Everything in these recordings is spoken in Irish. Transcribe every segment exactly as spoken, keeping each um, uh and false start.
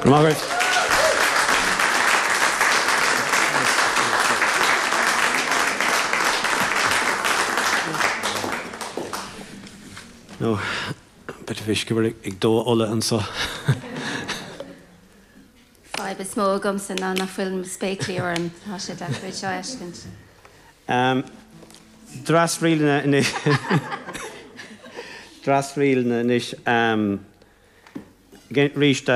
Go raibh maith agaibh. No, bit of uisce ag dó ola anseo. Fadhb is mó agamsa ná nach bhfuil mo spéaclaí orm tá sé deacair seo a fheiscint. Um, Dreasríleanna anois Dreasríleanna anois um, arís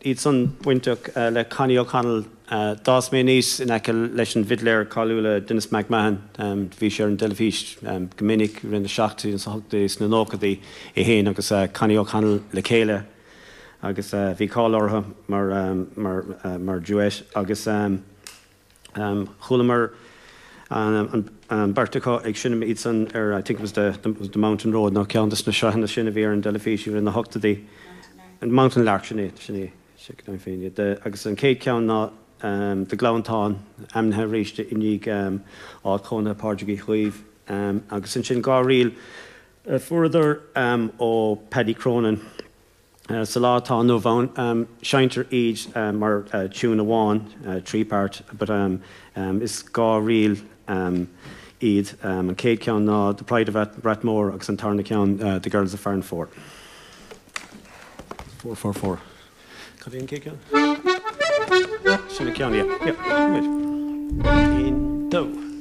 iad san bainteach uh, le Connie O'Connell uh, D'fhás mé aníos in aice leis an bhfidléir cáiliúil Denis McMahon um, bhí sé ar an teilifís um, go minic rinne seachtaí an hochtaí sna nóchaidí é féin agus uh, Connie O'Connell le chéile agus uh, bhí cáil orthu mar, um, mar, uh, mar duet agus um, um, chualamar an, an bheirt acu ag seinm iad san ar I think it was the, the, was the Mountain Road nó ceann de na sraitheanna sin a bhí ar an teilifís i na hochtaí an Mountain Lark sin é sin é féin agus an chéad ceann ná um, The Gleanntán ainmnithe arís i ndiaidh um, áit chónaithe Pádraig Uí Chaoimh um, agus ansin dhá ríl uh, fuaireadar um, ó Paddy Cronin. Uh, sa lá atá inniu ann um, seinntear iad uh, mar uh, tune amháin uh, three part, but um, um, is dhá ríl um, iad um, an chéad ceann ná The Pride of Rathmore agus an tarna ceann uh, The Girls of Farranfore. Four four four. Cad é an chéad ceann? Sin ceann yeah. Yeah. Right. Un, dó.